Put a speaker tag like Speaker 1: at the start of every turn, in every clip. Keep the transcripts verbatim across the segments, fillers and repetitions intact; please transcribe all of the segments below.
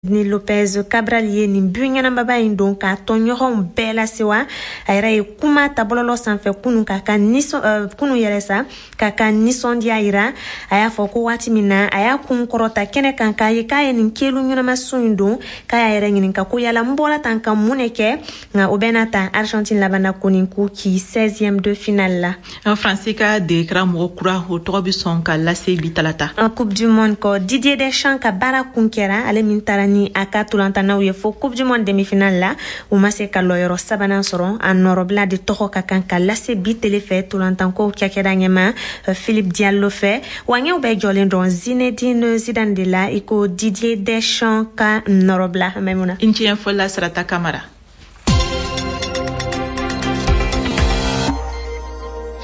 Speaker 1: Ni Lopez Cabral ye nin but ɲɛnamaba in don k'a tɔɲɔgɔnw bɛɛ lasewa. A yɛrɛ ye kuma ta bɔlɔlɔ sanfɛ kunun k'a ka nisɔn kunun yɛrɛ sa k'a ka nisɔndiya yira. A y'a fɔ ko waati min na a y'a kun kɔrɔta kɛnɛ kan k'a ye k'a ye nin kelu ɲɛnamasun in don, k'a y'a yɛrɛ ɲininka ko yala n bɔra tan ka mun de kɛ. Nka o bɛɛ n'a ta, Argentine labanna ko nin k'u ci seizième de finale la.
Speaker 2: Faransi ka degekara mɔgɔ kura, o tɔgɔ bɛ sɔn ka lase bi talata.
Speaker 1: Coupe du monde kɔ, Didier Deschamps ka baara kun kɛra, ale min taara ni a ka tolantanaw ye fo Coupe du monde demi-finale la, u ma se ka lɔyɔrɔ sabanan sɔrɔ. A nɔrɔbila de tɔgɔ ka kan ka lase bi tele fɛ tolantankow cakɛda ɲɛma Philippe Diallo fɛ. Wa ɲɛw bɛɛ jɔlen dɔn Zinedine Zidane de la i ko Didier Deschamps ka nɔrɔbila. Maimuna
Speaker 2: i ni ce ɲɛfɔli la, Sarata Kamara.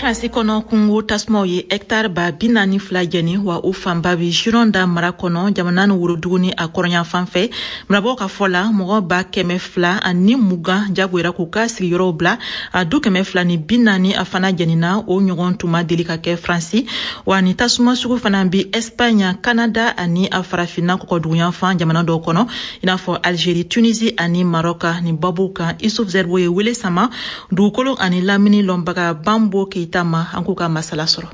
Speaker 2: Faransi kɔnɔ, kungo tasumaw ye hɛktare ba bi naani fila jɛni, wa o fanba bi Gironda mara kɔnɔ, jamana ni worodugu ni a kɔrɔnyanfan fɛ. Marabagaw ka fɔ la, mɔgɔ ba kɛmɛ fila ani mugan jagoyara k'u ka sigiyɔrɔw bila. A du kɛmɛ fila ni bi naani a fana jɛnina. O ɲɔgɔn tun ma deli ka kɛ Faransi. Wa ni tasuma sugu fana bi Espagne, Canada ani a farafinna kɔkɔduguyanfan jamana dɔw kɔnɔ, i n'a fɔ Algérie, Tunisie ani Maroc. Ni babuw kan, Isuf Zerbo ye wele sama dugukolo ani lamini lɔnbaga Bambo Keita ma, an k'u ka masala sɔrɔ.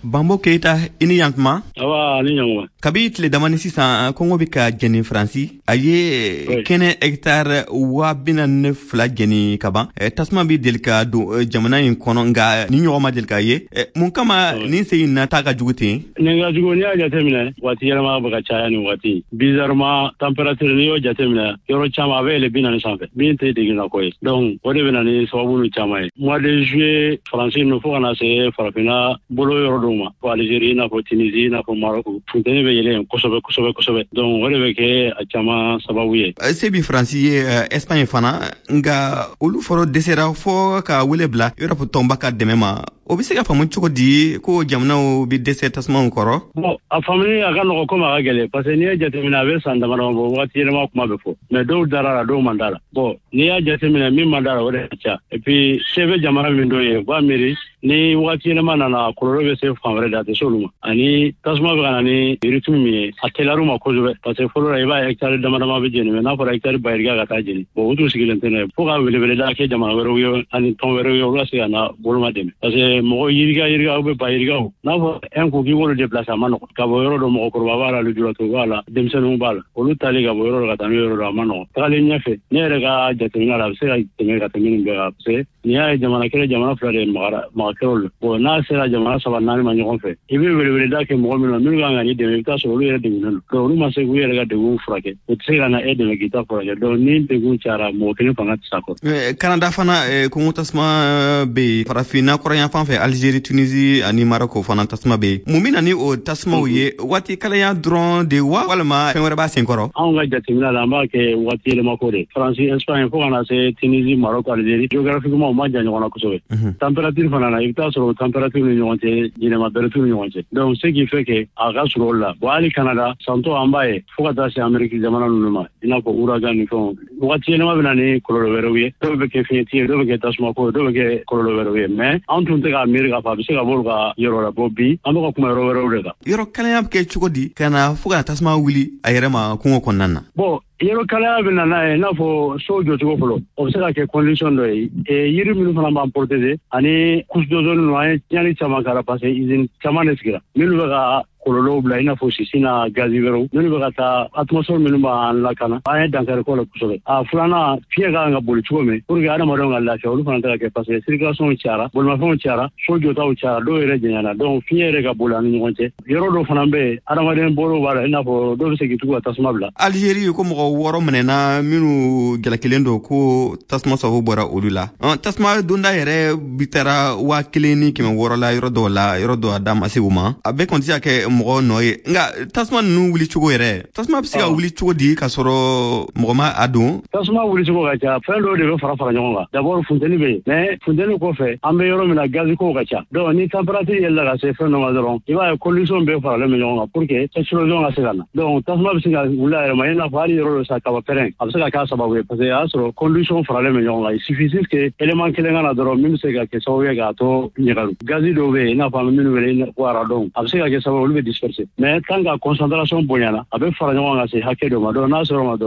Speaker 3: Bambo Keita, i ni yantuma.
Speaker 4: Awa, ni ɲankuma.
Speaker 3: Kabi tile damani sisan, kɔngɔ bɛ ka jɛni Faransi. A ye kɛnɛ hɛktare waa bi naani ni fila jɛni ka ban. Tasuma bɛ deli ka don jamana in kɔnɔ, nka ni ɲɔgɔn ma deli ka ye. Mun kama nin sen in na ta ka jugu ten?
Speaker 4: Nin ka jugu, n'i y'a jateminɛ, waati yɛlɛma bɛ ka caya nin waati. Bizarrement, température, n'i y'o jateminɛ, yɔrɔ caman a bɛ yɛlɛ bi naani sanfɛ, min tɛ degunna ko ye. Donc o de bɛ na ni sababu caman ye. Mois de juillet, Faransi ninnu fo ka na se farafinna bolo yɔrɔ dɔw ma, fo Algérie, i n'a fɔ Tunisie, i n'a fɔ Maroc, funteni bɛ yɛlɛ yen kosɛbɛ kosɛbɛ kosɛbɛ. Donc o de bɛ kɛ a caman sababu ye.
Speaker 3: Se bi Faransi ye, Espagne fana, nka olu fɔlɔ dɛsɛra fɔ ka wele bila Europe tɔnba ka dɛmɛ ma. O bɛ se ka faamu cogo di ko jamanaw bɛ dɛsɛ tasumaw kɔrɔ?
Speaker 4: Bon, a faamuni a ka nɔgɔ komi a ka gɛlɛn, parce que n'i ye jateminɛ, a bɛ san dama dama bɔ, wagati yɛlɛma kuma bɛ fɔ, mais dɔw dara la, dɔw man da la. Bon, n'i y'a jateminɛ, min man da la, o de ka ca. Et puis se bɛ jamana min dɔ ye, u b'a miiri ni wagati yɛlɛma nana, kɔlɔlɔ bɛ se fan wɛrɛ de, a tɛ se olu ma. Ani tasuma bɛ ka na ni rythme min ye, a teliyar'u ma kosɛbɛ, parce que fɔlɔ la, i b'a ye hectare dama dama bɛ jeni, mais n'a fɔra hectare ba yirika ka taa jeni, bon, u tun sigilen tɛ n'a ye fo ka weleweleda kɛ jamana wɛrɛw ye ani tɔn wɛrɛw ye, olu ka se ka na boloma dɛmɛ, parce que mɔgɔ yirika yirika ou bɛ ba yirikaw, n'a fɔ un coup k'i b'olu déplacer, a ma nɔgɔn. Ka bɔ yɔrɔ dɔ, mɔgɔkɔrɔba b'a la, lujuratɔ b'a la, denmisɛnninw b'a la, olu tali ka bɔ yɔrɔ dɔ ka taa n'u yɔrɔ dɔ, a ma nɔgɔn. Tagalen ɲɛfɛ, ne yɛrɛ ka jateminɛ la, a bɛ se ka tɛmɛ ka tɛmɛ nin bɛɛ kan, parce que n'i y'a ye jamana kelen, jamana fila de magara maga kɛr'o la. Bon, n'a sera jamana saba naani ma ɲɔgɔn fɛ, i bɛ weleweleda kɛ mɔgɔ minnu na, minnu kan ka n'i dɛmɛ, i bɛ taa sɔrɔ olu yɛrɛ degunnen don. Donc olu ma se k'u yɛrɛ ka degun furakɛ, u tɛ se ka na e dɛmɛ k'i ta furakɛ. Donc ni degun cayara, mɔgɔ kelen fanga tɛ s'a kɔrɔ.
Speaker 3: Canada fana, kungo tasuma bɛ yen. Farafinna kɔrɔnyanfan fɛ, Algérie, Tunisie ani Maroc fana tasuma bɛ yen. Mun bɛ na ni o tasumaw ye? Waati kalaya dɔrɔn de wa, walima fɛn wɛrɛ b'a sen kɔrɔ?
Speaker 4: Anw ka jateminɛ la, an b'a kɛ waati yɛlɛma ko de. Faransi, Espagne, fo ka na se Tunisie, Maroc, Algérie, géographiquement u ma jan ɲɔgɔn na kosɛbɛ. Température fana na, i bɛ taa sɔrɔ température ni ɲɔgɔn cɛ, yɛlɛma bɛrɛ t'u ni ɲɔgɔn cɛ. Donc ce qui fait que a ka surun olu la. Bon, hali Canada santɔ, an b'a ye fo ka taa se Amérique jamana ninnu ma, i n'a fɔ ouragan ni fɛnw. Waati yɛlɛma bɛ na ni kɔlɔlɔ wɛrɛw ye, dɔw bɛ kɛ fiɲɛti ye, dɔw bɛ kɛ tasumako ye, dɔw bɛ kɛ kɔlɔlɔ wɛrɛw ye, mais an tun tɛ k'a miiri k'a fɔ a bɛ se ka bɔ olu ka yɔrɔ la. Bon, bi an bɛ ka kuma yɔrɔ wɛrɛw de kan.
Speaker 3: Yɔrɔ kalaya bɛ kɛ cogo di ka na fo ka tasuma wuli a yɛrɛ ma kungo kɔnɔna na?
Speaker 4: Bon, yɔrɔ kalaya bɛ na n'a ye, i n'a fɔ so jɔcogo fɔlɔ, o bɛ se ka kɛ condition dɔ ye. Yiri minnu fana b'an protéger ani couche d'ozone ninnu, an ye tiɲɛni caman kɛra, parce que usine caman de sigira minnu bɛ ka kɔlɔlɔw bila, i n'a fɔ sisi n'a gazi wɛrɛw minnu bɛ ka taa atmosphère minnu b'an lakana, an ye dankari k'o la kosɛbɛ. A filanan, fiɲɛ ka kan ka boli cogo min pour que adamadenw ka lafiya, olu fana tɛ ka kɛ, parce que circulation cayara, bolimafɛnw cayara, so jɔtaw cayara, dɔw yɛrɛ janyana. Donc fiɲɛ yɛrɛ ka boli an ni ɲɔgɔn cɛ. Yɔrɔ dɔw fana bɛ yen, adamaden bolo b'a la, i n'a fɔ dɔw bɛ se k'i tugu ka tasuma bila.
Speaker 3: Algérie, ko mɔgɔ wɔɔrɔ minɛna minnu jalakilen don ko tasuma sababu bɔra olu la. Tasuma donda yɛrɛ bi taara waa kelen ni kɛmɛ wɔɔrɔ la yɔrɔ dɔw la, yɔrɔ dɔw a da ma se u ma. A bɛɛ kɔni tɛ se ka kɛ mɔgɔ nɔ ye, nka tasuma ninnu wuli cogo yɛrɛ, tasuma bɛ se ka wuli cogo di k'a sɔrɔ mɔgɔ ma a don?
Speaker 4: Tasuma wuli cogo ka ca, fɛn dɔw de bɛ fara fara ɲɔgɔn kan. D'abord funteni bɛ yen, mais funteni kɔfɛ, an bɛ yɔrɔ min na, gazi kow ka ca. Donc ni température yɛlɛla ka se fɛn dɔ ma dɔrɔn, i b'a ye condition bɛɛ faralen bɛ ɲɔgɔn kan pour que explosion ka se ka na. Donc tasuma bɛ se ka wuli a yɛrɛ ma, i n'a fɔ hali yɔrɔ dɔ don sa, kaba pɛrɛn, a bɛ se ka k'a sababu ye, parce que a y'a sɔrɔ condition faralen bɛ ɲɔgɔn kan. Il suffit juste que élément kelen ka na dɔrɔn min bɛ se ka kɛ sababu ye k'a to ɲagalu. Gazi dɔw bɛ yen, i n'a fɔ an bɛ minnu wele ko radon, a bɛ se ka kɛ sababu olu bɛ disperser, mais tant que concentration bonyana, a bɛ fara ɲɔgɔn kan se hakɛ dɔ ma. Donc n'a sɔrɔ ma dɔrɔn.